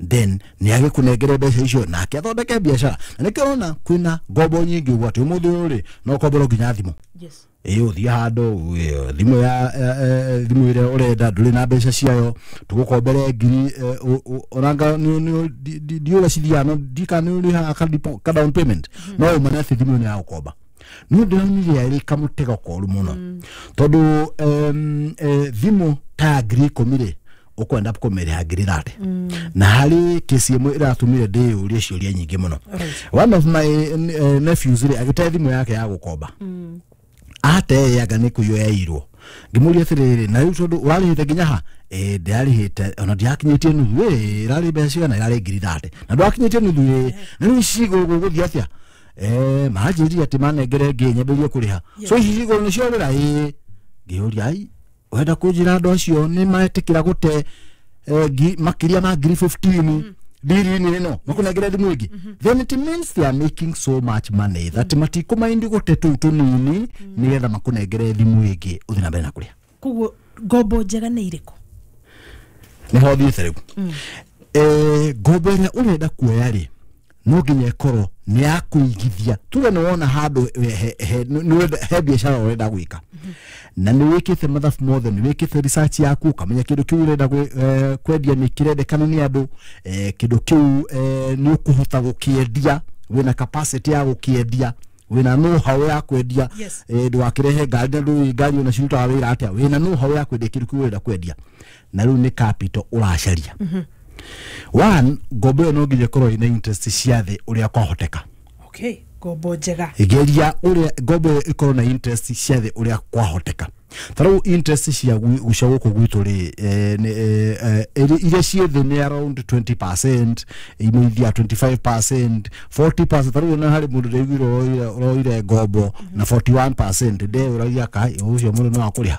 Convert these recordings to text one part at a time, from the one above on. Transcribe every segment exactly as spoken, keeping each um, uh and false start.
Then nĩ agĩkũnengere mbeca icio nake athondeke biacara. Na nĩkĩo ũrona kwĩna ngombo nyingĩ ũguo atĩ ũmũthĩ ũyũ rĩ, no ũkomborwo nginya thimũ. Yes. Ĩ ũthiĩ handũ ĩ, thimũ ya eh, eh, thimũ ĩrĩa ũrenda ndũrĩ na mbeca ciayo, tũgũkombere ngiri eh, ũ- ũ- onanga ndiũrĩa cithiaga, no ndika nĩ ũrĩhaga ka depo- ka down payment, no ũmane atĩ thimũ ĩyo nĩ ya gũkomba. Nĩ ndĩronire arĩ kamũtego koru mũno, tondũ em, eh, thimũ ta ya ngiri ikũmi rĩ, ũkwenda kũmĩrĩha ngiri thate. Na harĩ kesi ĩmwe ĩratũmire ndĩyũrie ciũria nyingĩ mũno. Right. One of my eh, nephews rĩ, agĩte thimũ yake ya gũkomba, ateanga nĩ kũiywo yairwo. Ngĩmũria atĩrĩrĩ, na rĩu tondũ ũrarĩhĩte nginya ha? Ĩ ndĩrarĩhĩte ona ndirakinyĩtie nuthu. Ĩ ĩrarĩ mbeca cigana? Ĩrarĩ ngiri thate na ndwakinyĩtie nuthu. Ĩ na rĩu ici gũgũthiĩ atĩa? Eh, manjĩrire atĩ manengere ngĩ nyambĩrĩrie kũrĩha, so ici cigũrũ nĩ ciorĩra. Ĩ ngĩũria, ai, wenda kũnjĩra andũ acio nĩ metĩkĩra gũte eh, ngi- makĩria ma ngiri fifteen ndiri-inĩ ĩno makũnengere thimũ ĩngĩ? Then it means they are making so much money that matikũmaindi gũte tũu tũnini nĩgetha makũnengere thimũ ĩngĩ ũthiĩ na mbere na kũrĩha. Koguo ngombo njega nĩ irĩkũ? Nĩho thiĩte rĩu. Eh, ngombo ĩrĩa ũrenda kuoya rĩ, no nginya ĩkorwo nĩ ya kũigithia. Tuge nĩ wona handũ he, he, nĩ ũrenda- he biacara ũrenda gwĩka, na nĩ wĩkĩte mathabu mothe, nĩ wĩkĩte research yaku, ũkamenya kĩndũ kĩu ũrenda gwĩ- eh, kwendia nĩ kĩrendekana nĩ andũ, eh, kĩndũ kĩu eh, nĩ ũkũhota gũkĩendia, wĩna capacity ya gũkĩendia, wĩna know how ya kwendia. Yes. eh, ndũgakĩrehe ngari na ndũĩ ngari ona cirutaga wĩra atĩa. Wĩna know how ya kwendia kĩndũ kĩu ũrenda kwendia, na rĩu nĩ capital ũracaria. One, ngombo ĩyo no nginya ĩkorwo ĩna interest cia thĩ ũrĩa kwahoteka. Okay, ngombo njega. Geria ũrĩa ngombo ĩyo ĩkorwo na interest cia thĩ ũrĩa kwahoteka. Ta rĩu interest cia gwi- cia gũkũ gwitũ rĩ, eh, nĩ, eh, eh, ĩrĩ- iria ciĩ thĩ nĩ around twenty percent, imwe ithiaga twenty-five percent, forty percent. Ta rĩu ona harĩ mũndũ ndaiguire ũroire ũroire ngombo na forty-one percent, ndeyũragia kai ũcio mũndũ no akũrĩha.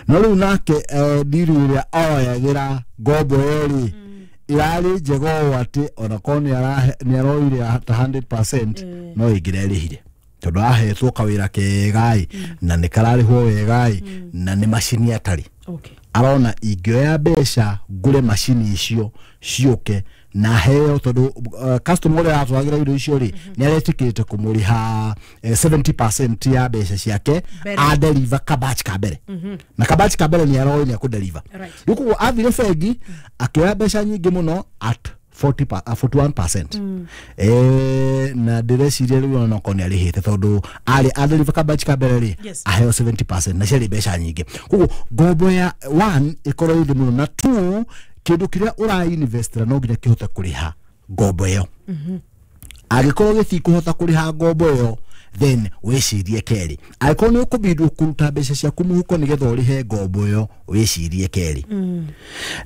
No rĩu nake eh, ndiru ĩrĩa oyagĩra ngombo ĩyo rĩ, ĩrarĩ njega ũũ atĩ ona korwo nĩ arahe- nĩ aroire ta hundred percent, no ĩngĩrerĩhire, tondũ ahetwo kawĩra kega-ĩ, na nĩ kararĩhwo wega-ĩ, na nĩ macini atarĩ. Okay arona ingĩoya mbeca ngũre macini icio ciũke na heo, tondũ uh, customer ũrĩa aratwaragĩra indo icio rĩ, nĩ aretĩkĩrĩte kũmũrĩha eh, seventy percent ya mbeca ciake Mbere. Adeliver kabatch ka mbere, na kabatch ka mbere nĩ aroĩ nĩ akũdeliver. Right. Rĩu koguo athire bengi akĩoya mbeca nyingĩ mũno at forty pa, uh, forty-one percent. eh, na ndĩreciria rĩu ona okorwo nĩ arĩhĩte, tondũ arĩ adeliver kabatch ka mbere rĩ, Yes. aheo seventy percent na ciarĩ mbeca nyingĩ. Koguo ngombo ya one ĩkorwo ĩ thĩ mũno, na two, kĩndũ kĩrĩa ũrainvestĩra no nginya kĩhote kũrĩha ngombo ĩyo. Angĩkorwo gĩtikũhota kũrĩha ngombo ĩyo, then wĩcirie kerĩ. Angĩkorwo nĩ ũkũbindwo kũruta mbeca ciaku mũhuko nĩgetha ũrĩhe ngombo ĩyo, wĩcirie kerĩ.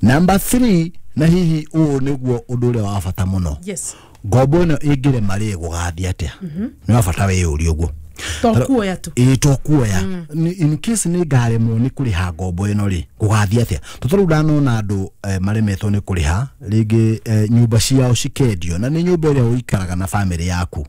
Number three, na hihi ũũ nĩguo ũndũ ũrĩa wa bata mũno, yes ngombo ĩno ĩngĩrema rĩ, gũgathiĩ atĩa? Nĩ wa bata wĩyũrie ũguo. To kuoya tu. Ĩĩ, to kuoya. Nĩ- in case nĩ ngaremwo nĩ kũrĩha ngombo ĩno rĩ, gũgathiĩ atĩa? Tondũ rĩu ndanona andũ eh, maremetwo nĩ kũrĩha rĩngĩ, eh, nyũmba ciao cikendio, na nĩ nyũmba ĩrĩa ũikaraga na bamĩrĩ yaku,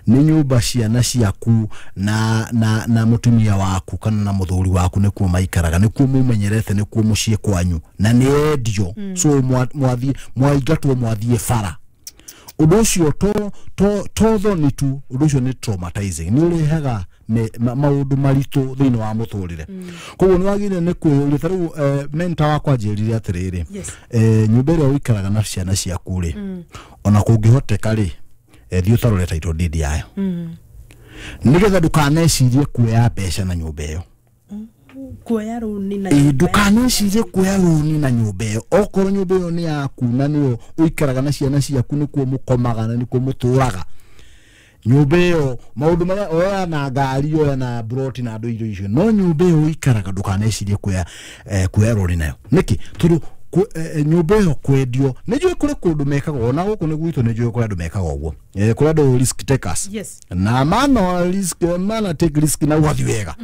nĩ nyũmba ciana ciaku na, na, na mũtumia waku kana na mũthuri waku nĩkuo maikaraga, nĩkuo mũmenyerete, nĩkuo mũciĩ kwanyu, na nĩ endio. So mwa- mwathiĩ mwaingatwo, mwathiĩ bara. Ũndũ ũcio to to to thoni tu, ũndũ ũcio nĩ traumatizing, nĩ ũrehaga me- ma- maũndũ maritũ thĩinĩ wa mũtũrĩre. Koguo nĩ wagĩrĩire nĩ kwĩyũria. Ta rĩu eh, mentor wakwa anjĩrire atĩrĩrĩ, Yes. eh, nyũmba ĩrĩa ũikaraga na ciana ciaku rĩ, ona kũngĩhoteka rĩ, eh, thiĩ ũtarore title deed yayo, nĩgetha ndũkanecirie kuoya mbeca na nyũmba ĩyo. Kuoya rũni na Ĩ, nyũmba. Ndũkanecirie kuoya rũni na nyũmba ĩyo. Okorwo nyũmba ĩyo nĩ yaku na nĩyo ũikaraga na ciana ciaku, nĩkuo mũkomaga na nĩkuo mũtũraga, nyũmba ĩyo maũndũ marĩa oya na ngari, oya na broti na andũ indo icio, no nyũmba ĩyo ũikaraga ndũkanecirie kuoya eh, kuoya rũni nayo. Nĩkĩ? Tondũ ku- eh, eh, nyũmba ĩyo kwendio, nĩ njũĩ kũrĩ kũndũ mekaga, ona gũkũ nĩ gwitũ nĩ njũĩ kũrĩ andũ mekaga ũguo. Eh, kũrĩ andũ risk takers. Yes. Na mana risk, mana take risk na ũgathiĩ wega,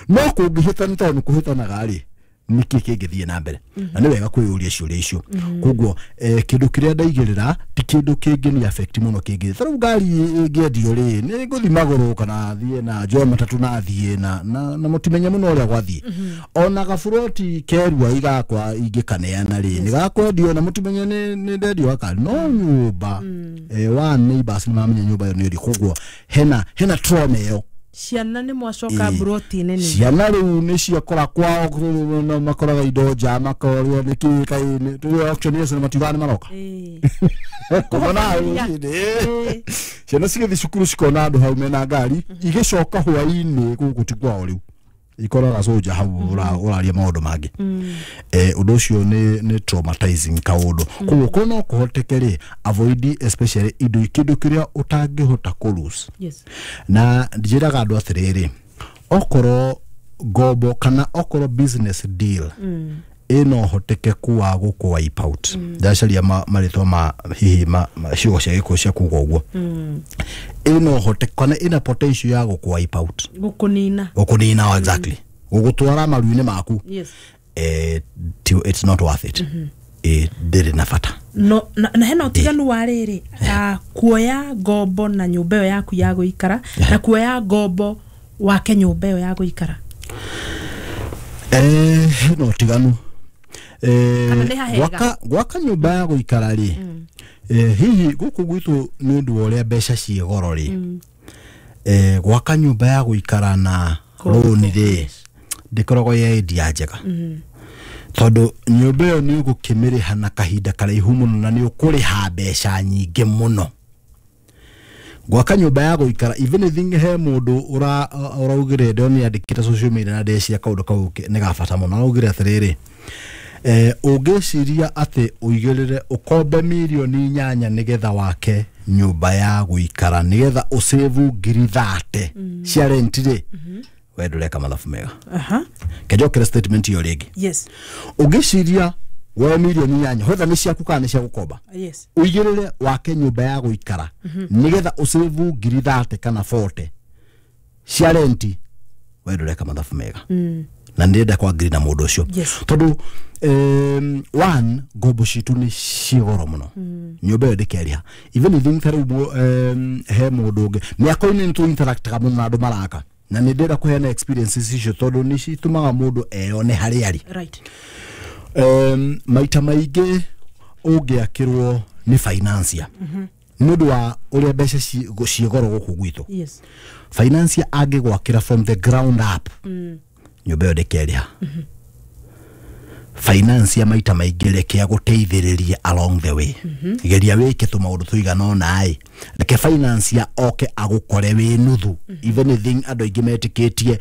no kũngĩhĩtana, tondũ nĩ kũhĩtanaga rĩ, nĩkĩ kĩngĩthiĩ na mbere na nĩ wega kwĩyũria ciũria icio. Koguo eh, kĩndũ kĩrĩa ndaigĩrĩra ti kĩndũ kĩngĩ ni affect mũno kĩngĩ. Ta rĩu ngari ĩngĩendio rĩ, nĩ ngũthiĩ magũrũ kana thiĩ na njoe matatũ na thiĩ na na, na mũtimenye mũno ũrĩa gwathiĩ. Ona gaburoti kerua igakwa ingĩkaneana rĩ, nĩ gakwendio na mũtimenye nĩ nĩ ndendio gakari. No nyũmba eh, wa neighbors nĩ mamenya nyũmba ĩyo nĩ ĩrĩ, koguo hena hena trauma ĩyo. Ciana nĩ mwacoka mburoti nene. Ciana rĩu nĩ ciakora kwao na makoraga indo nja, makorio nĩ kĩ kaĩ tũrĩ auctioneers na matiugaga nĩ maroka. Kũmona rũcinĩ ciana cigĩthiĩ cukuru cikona andũ hau mena ngari, igĩcoka hwaĩ-inĩ gũkũ ti kwao rĩu ikoraga soja hau ũraria maũndũ mangĩ. Eh, ũndũ ũcio nĩ nĩ traumatizing kaũndũ. Koguo ko no kũhoteke rĩ, avoid especially indo kĩndũ kĩrĩa ũtangĩhota kũ lose. Yes. Na njĩraga andũ atĩrĩrĩ, okorwo ngombo kana okorwo business deal ĩno hotekeku wa gũkũ wipe out, ndacaria marĩtwa ma hihi ma ciugo cia gĩkũyũ cia kuga ũguo, ĩno hoteke kana ĩna potential ya gũkũ wipe out, gũkũnina, gũkũnina exactly, gũgũtwara maru-inĩ maku. Yes. Eh, it's not worth it. Eh, ndĩrĩ na bata. No, na, na hena ũtiganu wa rĩrĩ, kuoya ngombo na nyũmba ĩyo yaku ya gũikara na kuoya ngombo wake nyũmba ĩyo ya gũikara. Eh, hena ũtiganu. Eh, gwaka gwaka nyũmba ya gũikara rĩ, eh, hihi gũkũ gwitũ nĩ ũndũ wa ũrĩa mbeca ciĩ goro rĩ, eh, gwaka nyũmba ya gũikara na rũni rĩ, ndĩkoragwo ĩ idea njega. Tondũ nyũmba ĩyo nĩ ũgũkĩmĩrĩha na kahinda karaihu mũno na nĩ ũkũrĩha mbeca nyingĩ mũno. Gwaka nyũmba ya gũikara, even if he mũndũ ũraugire ndĩronire andĩkĩte social media na ndeciria kaũndũ kau nĩ ga bata mũno, araugire atĩrĩrĩ, eh, ũngĩciria atĩ ũigĩrĩre ũkombe mirioni inyanya nĩgetha wake nyũmba ya gũikara nĩgetha ũsave ngiri thate cia rent rĩ, we ndũreka mathabu mega. Aha. Kenjokere statement ĩyo rĩngĩ. Yes. Ũngĩciria woe mirioni inyanya whether nĩ ciaku kana nĩ cia gũkomba, Yes. ũigĩrĩre wake nyũmba ya gũikara nĩgetha ũsave ngiri thate kana forty cia rent, we ndũreka mathabu mega. Na ndĩrenda kwangiri na mũndũ ũcio. Yes. Tondũ um, one, ngombo citũ nĩ ciĩ goro mũno. Nyũmba ĩyo ndĩkerĩha. Even if ta rĩu um, he mũndũ ũngĩ mĩako-inĩ nĩ tũ-interactaga mũno na andũ maraka, na nĩ ndĩrenda kũheana experiences icio tondũ nĩ citũmaga mũndũ eyone harĩa arĩ. Right. Um, maita maingĩ ũngĩakĩrwo nĩ financier nĩ ũndũ wa ũrĩa mbeca ciĩ goro gũkũ gwitũ. Yes. Financier angĩgwakĩra from the ground up, nyũmba ĩyo ndĩkerĩha. Financier maita maingĩ reke agũteithĩrĩrie along the way. Geria wĩke tũmaũndũ tũigana ũna ĩ, reke financier oke agũkore wĩ nuthu. Even if andũ aingĩ metĩkĩtie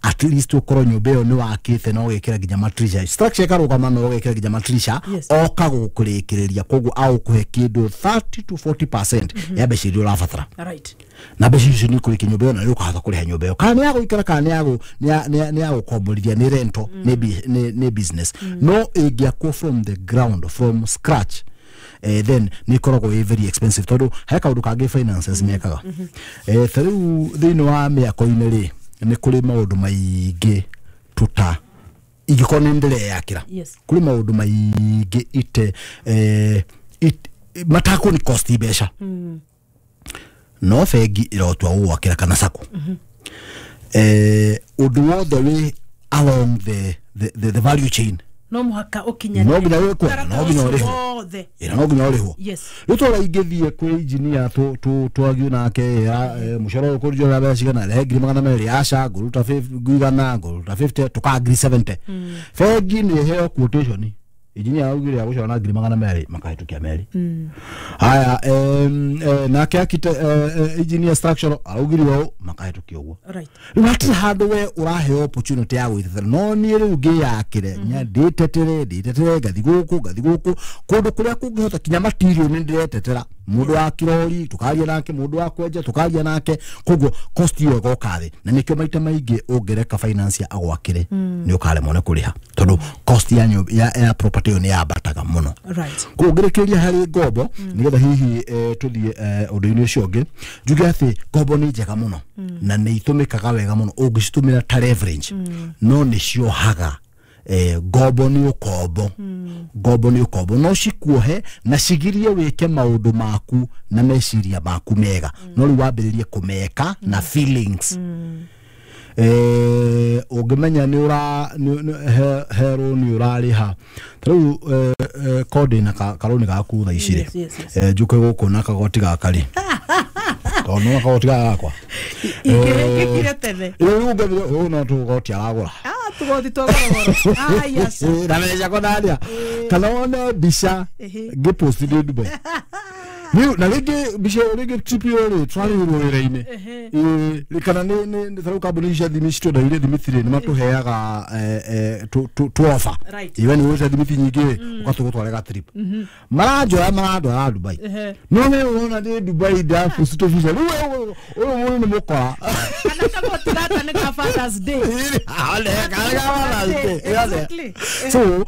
at least ũkorwo nyũmba ĩyo nĩ wakĩte na ũgekĩra nginya matirisha, structure ĩkarũgama na ũgekĩra nginya matirisha, oka gũkũrĩkĩrĩria, koguo agũkũhe kĩndũ thirty to forty percent ya mbeca iria ũrabatara. Right. Na mbeca icio nĩ ũkũrĩkia nyũmba ĩyo na nĩ ũkahota kũrĩha nyũmba ĩyo, kana nĩ ya gũikara kana nĩ ya gũkomborithia, nĩ rental, nĩ business. No ĩngĩakwo from the ground, from scratch, eh, then nĩ ĩkoragwo ĩ very expensive tondũ he kaũndũ kangĩ finances mekaga. Eh, ta rĩu thĩinĩ wa mĩako-inĩ rĩ, nĩ kũrĩ maũndũ maingĩ tũta ingĩkorwo nĩ ndĩreyakĩra. Yes. Kũrĩ maũndũ maingĩ ite eh, matakũ nĩ cost mbeca. No bengi ĩrotua gũgwakĩra kana sacco. Eh, ũndũ wothe wĩ along the, the, the, the value chain no mũhaka ũkinyanĩre, no nginya wĩkwo, no nginya ũrĩhwo, ĩra no nginya ũrĩhwo. Yes. Rĩu tũra ingĩthiĩ kwĩ engineer tũ tũ twagiũ nake mũcoro ũyũ kũnjora mbeca cigana, rehe ngiri magana merĩ, aca ngũruta igana, ngũruta fifty, tũkaa ngiri seventy. Bengi nĩ ĩheo quotation, engineer augire agũcora na ngiri magana merĩ, makahĩtũkia merĩ. Haya, nake architect engineer structural araugire ũũ, makahĩtũkia ũguo. Right. Rĩu hatirĩ handũ we ũraheo opportunity ya gwĩtetera, no niĩ rĩu ngĩyakĩre ndĩtetere ndĩtetere ngathi gũkũ ngathi gũkũ kũndũ kũrĩa kũngĩhota kinya material nĩ ndĩretetera, mũndũ wa kirori tũkaria nake, mũndũ wa kwenja tũkaria nake, koguo cost ĩyo ĩgoka thĩ. Na nĩkĩo maita maingĩ ũngĩreka financier agwakĩre nĩ ũkaremwo nĩ kũrĩha tondũ cost ya ya, ya property ĩyo nĩ yambataga mũno. Right. Koguo ngĩrĩkĩrĩria harĩ ngombo nĩgetha hihi tũthiĩ ũndũ-inĩ ũcio ũngĩ, njuge atĩ ngombo nĩ njega mũno na nĩ itũmĩkaga wega mũno ũngĩcitũmĩra ta leverage, no nĩ ciohaga Eh, ngombo nĩ ũkombo, ngombo nĩ ũkombo, no cikuohe na cigirie wĩke maũndũ maku na meciria maku mega, no rĩu wambĩrĩrie kũmeka na feelings. Eh, ũngĩmenya nĩ ũra herwo nĩ ũrarĩha ta rĩu kodi na karũni gaku thaa ici rĩ, njũke gũkũ na kagoti gaka rĩ, tondũ nĩ kagoti gaka gakwa ingĩkire tene rĩu ũngĩthire ũyũ no tũgoti aragũra tugoti twa gorogoro. Ah, yes. Na mbeca kũnania kana wone mbica ngĩposti ndĩ Dubai. Rĩu na rĩngĩ mbica ĩyo rĩngĩ trip ĩyo rĩ twarĩhirwo wĩra-inĩ, kana nĩ ta rĩu kambuni cia thimũ citwendagĩria thimiti rĩ, nĩ matũheaga tũ offer, iwe nĩ ũgũrĩte thimiti nyingĩ rĩ ũgatũgũtware ga trip, maranjoya marandwara Dubai, no we ũrona ndĩ Dubai ndaposti tũbica rĩu ũyũ mũndũ nĩ mũkora. Kana kagoti gaka nĩ ka Father's Day. Exactly. So rĩu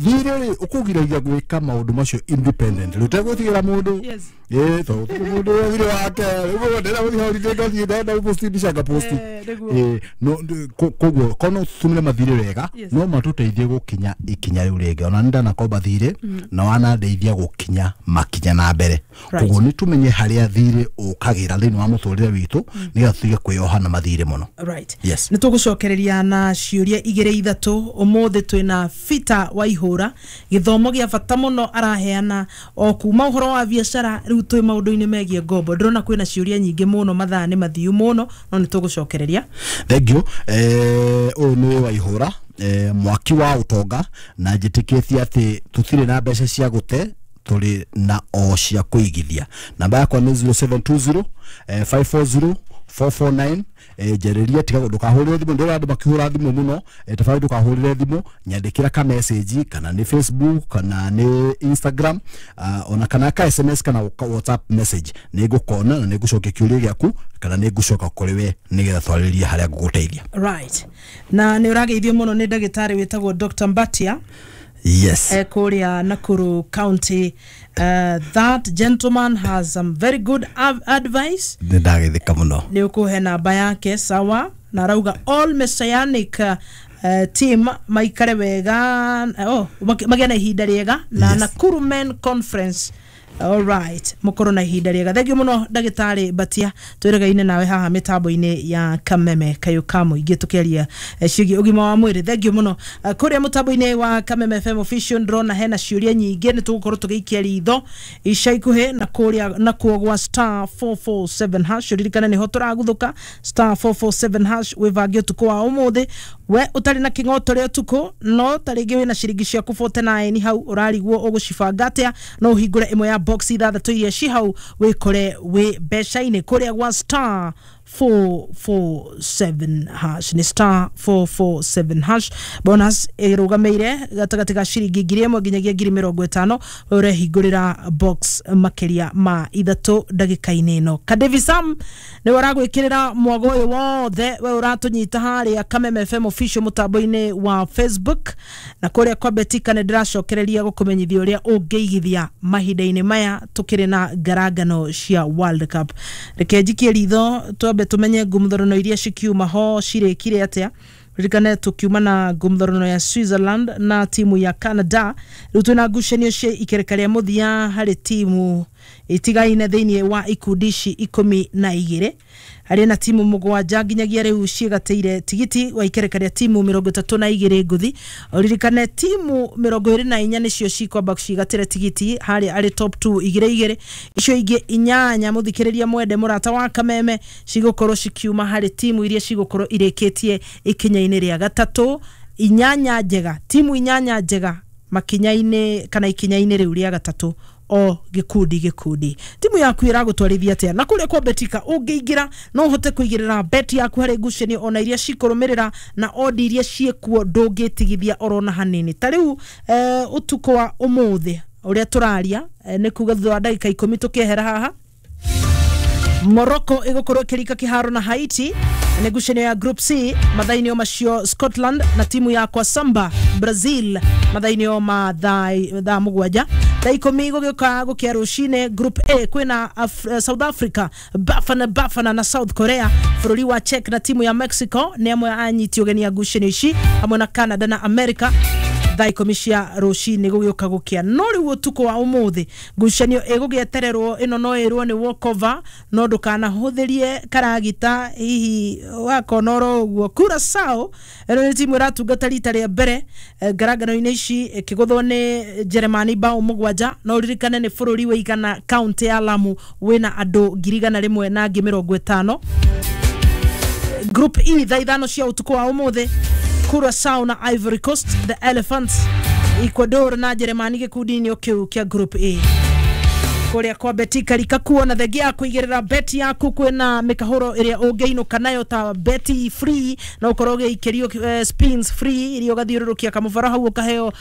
thirĩ rĩ ũkũgiragia gwĩka maũndũ macio independent, rĩu ũtegwĩtigĩra mũndũ, ĩĩ tondũ mũndũ thirĩ wake rĩu ndĩrenda gũthiĩ holiday ndathiĩ ndenda gũposti mbica ngaposti. Ĩĩ no koguo korwo no tũtũmĩre mathirĩ wega no matũteithie gũkinya ikinya rĩu rĩngĩ. Ona nĩ ndanakomba thirĩ na wanandeithia gũkinya makinya na mbere. Koguo nĩ tũmenye harĩa thirĩ ũkagĩra thĩinĩ wa mũtũrĩre witũ nĩgetha tũtige kwĩyoha na mathirĩ mũno. Right. Yes. Nĩ tũgũcokereria na ciũria igĩrĩ ithatũ. Ũmũthĩ twĩna Peter Waihũra, gĩthomo gĩa bata mũno araheana o kuma ũhoro wa biacara rĩu twĩ maũndũ-inĩ megiĩ ngombo. Ndĩrona kwĩna ciũria nyingĩ mũno, mathaa nĩ mathiu mũno, no nĩ tũgũcokereria. Thank you. Eh, ũyũ nĩ Waihũra, eh, mwaki wa ũtonga, na njĩtĩkĩtie atĩ tũtirĩ na mbeca cia gũte, tũrĩ na o cia kũigithia. Namba yakwa nĩ zero seven two zero five four zero four four nine. Njarĩria, tiga ndũkahũrĩre thimũ, ndĩrona andũ makĩhũra thimũ mũno, tafadhali ndũkahũrĩre thimũ, nyandĩkĩra ka message kana nĩ Facebook kana nĩ Instagram, ona kana ka S M S kana WhatsApp message, nĩ ngũkona na nĩ ngũcokia kĩũria gĩaku kana nĩ ngũcoka kũrĩ we nĩgetha twarĩrie harĩa ngũgũteithia. Right. Na nĩ ũrageithio mũno nĩ ndagĩtarĩ wĩtagwo Doctor Mbatia. Yes. Eh, kũrĩa Nakuru County. Uh, that gentleman has some very good advice. Nĩ ndagĩthĩka mũno. Nĩ ũkũhe namba yake sawa, na arauga all messianic uh, team maikare wega, oh, magĩa na ihinda rĩega na yes. Nakuru Men Conference. All right, mukorwo na ihinda rĩega. Thank you mũno ndagĩtarĩ Mbatia, twĩregaine nawe haha mĩtambo-inĩ ya Kameme Kayũ ka Mũingĩ tũkĩaria ciĩgiĩ ũgima wa mwĩrĩ. Thank you mũno. Kũrĩa mũtambo-inĩ wa Kameme F M Official ndĩrona hena ciũria nyingĩ, nĩ tũgũkorwo tũgĩikia ritho ica ikuhĩ na kũrĩa nakuo gwa star four four seven hash. Ririkana nĩho tũraguthũka star four four seven hash, wĩbange ũtukũ wa ũmũthĩ. We ũtarĩ na kĩng'oto rĩa ũtukũ, no ta rĩngĩ wĩna ciringi ciaku forty nine hau ũrarigwo ũgũcibanga atĩa, no ũhingũre ĩmwe ya box ithathatũ iria ci hau wĩkore wĩ mbeca-inĩ kũrĩa gwa star four four seven hash. Nĩ star four four seven hash. Bonus ĩrũgamĩire gatagatĩ ga ciringi ngiri ĩmwe nginyagia ngiri mĩrongo ĩtano, we ũrehingũrĩra box makĩria ma ithatũ ndagĩka-inĩ ĩno. Kadevi Sam nĩwe ũragwĩkĩrĩra mwago ũyũ wothe, we ũratũnyita harĩa Kameme F M Official mũtambo-inĩ wa Facebook, na kũrĩa kwa Betika nĩ ndĩracokereria gũkũmenyithia ũrĩa ũngĩigithia mahinda-inĩ maya tũkĩrĩ na ngarangano cia World Cup. Reke njikie ritho twambe tumenye ngumthorano iria cikiuma ho cirĩkire atĩa. Ririkane tukiuma na ngumthorano ya Switzerland na timu ya Canada, rĩu twĩna ngucanio cia ikereka rĩa mũthia harĩ timu itigaine thĩinĩ wa ikundi ici ikũmi na igĩrĩ, harĩ na timu mũgwanja nginyagia rĩu ciĩgatĩire tigiti wa ikereka rĩa timu mĩrongo ĩtatũ na igĩrĩ ngũthi. Ũririkane timu mĩrongo ĩrĩ na inya nĩcio cikwamba cigatĩre tigiti harĩa arĩ top two igĩrĩ igĩrĩ, icio ingĩ inyanya mũthikĩrĩria mwende mũrata wa Kameme cigũkorwo cikiuma harĩ timu iria cigũkorwo irĩkĩtie ikinya-inĩ rĩa gatatũ. Inyanya njega, timu inyanya njega makinya-inĩ kana ikinya-inĩ rĩu rĩa gatatũ o gĩkundi gĩkundi. Timu yaku ĩragũtwarithia atĩa? Na kũrĩa kwa Betika ũngĩingĩra no ũhote kũigĩrĩra bet yaku harĩ ngucanio ona iria cikũrũmĩrĩra na odi iria ciĩkuo ndũngĩtigithia orona hanini. Ta rĩu eh, ũtukũ wa ũmũthĩ ũrĩa tũraria eh, nĩ kuga thutha wa ndagĩka ikũmi tũkĩehera haha, Morocco ĩgũkorwo ĩkĩrika kĩharo na Haiti. Nĩ ngucanio ya Group C mathaa-inĩ o macio Scotland na timu ya Kwasamba Brazil mathaa-inĩ o ma thaa mũgwanja. Thaa ikũmi gũgĩũka gũkĩa rũcinĩ Group A kwĩna Af South Africa Bafana Bafana na South Korea. Bũrũri wa Czech na timu ya Mexico nĩ amwe anyiti ũgeni a ngucanio ici hamwe na Canada na America. Thaa ikũmi cia rũcinĩ gũgĩũka gũkĩa. No rĩu ũtukũ wa ũmũthĩ ngucanio ĩgũgĩetererwo ĩno no ĩrwo nĩ walkover, no ndũkanahũthĩrie karagita hihi wakona oro ũguo. Curaçao ĩno nĩ timu ĩratungata rita rĩa mbere ngarangano-inĩ ici ĩkĩgũthwo nĩ Jeremani bao mũgwanja. No ũririkane nĩ bũrũri wĩigana kaunti ya Lamu wĩna andũ ngiri igana rĩmwe na ngiri mĩrongo ĩtano. Group E thaa ithano cia ũtukũ wa ũmũthĩ Curaçao na Ivory Coast, the Elephants, Ecuador na Jeremani gĩkundi-inĩ kĩu kĩa Group A. Kũrĩa kwa Betika rikakuo na thengia ya kũigĩrĩra beti yaku kwĩna mĩkahũro ĩrĩa ũngĩinũka nayo ta beti free na ũkorwo ũgĩikĩrio uh, spins free iria ũgathiũrũrũkia kamũbara hau ũkaheo uh,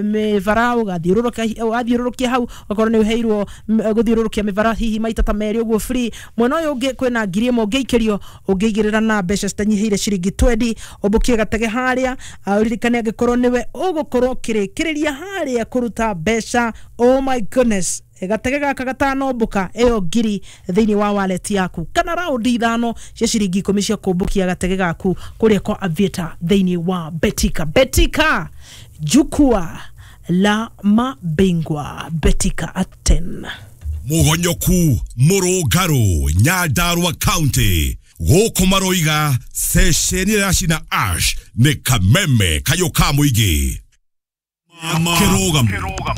mĩbara ũgathiũrũrũkia hau ũkorwo nĩ ũheirwo gũthiũrũrũkia mĩbara hihi maita ta merĩ ũguo free. Mwena ũyũ ũngĩ kwĩna ngiri ĩmwe ũngĩikĩrio ũngĩigĩrĩra na mbeca citanyihĩire ciringi twendi ũmbũkie gatege harĩa. Ũririkane angĩkorwo nĩwe ũgũkorwo ũkĩrĩkĩrĩria harĩa kũruta mbeca, oh my goodness, gatege gaka gatanombũka ĩyo ngiri thĩinĩ wa wallet yaku kana raundi ithano cia ciringi ikũmi cia kũmbũkia gatege gaku kũrĩa kwa Aviator thĩinĩ wa Betika. Betika, jukwaa la mabingwa. Betika at ten. Mugonyoku Murungaru Nyandarua County gũkũ maroiga ceceni ya cina ash nĩ kameme kayũ ka mũingĩ. Kirugamo.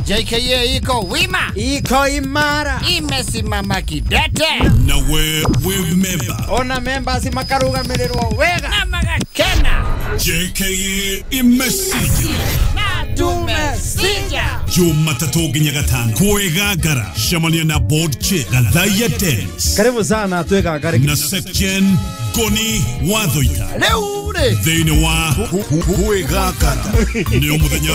J K A iko wima, iko imara, imesimama kidete. Na we we member. Ona members makarugamirĩrwo wega na magakena. J K A imesija na tumesija. Jumatatu nginya gatano kwĩgangara cemania na board chair Gathaiya Dennis. Karibu sana twĩgangare na section Goni Wathoita rĩu rĩ thĩinĩ wa kwĩgangara nĩ mũthenya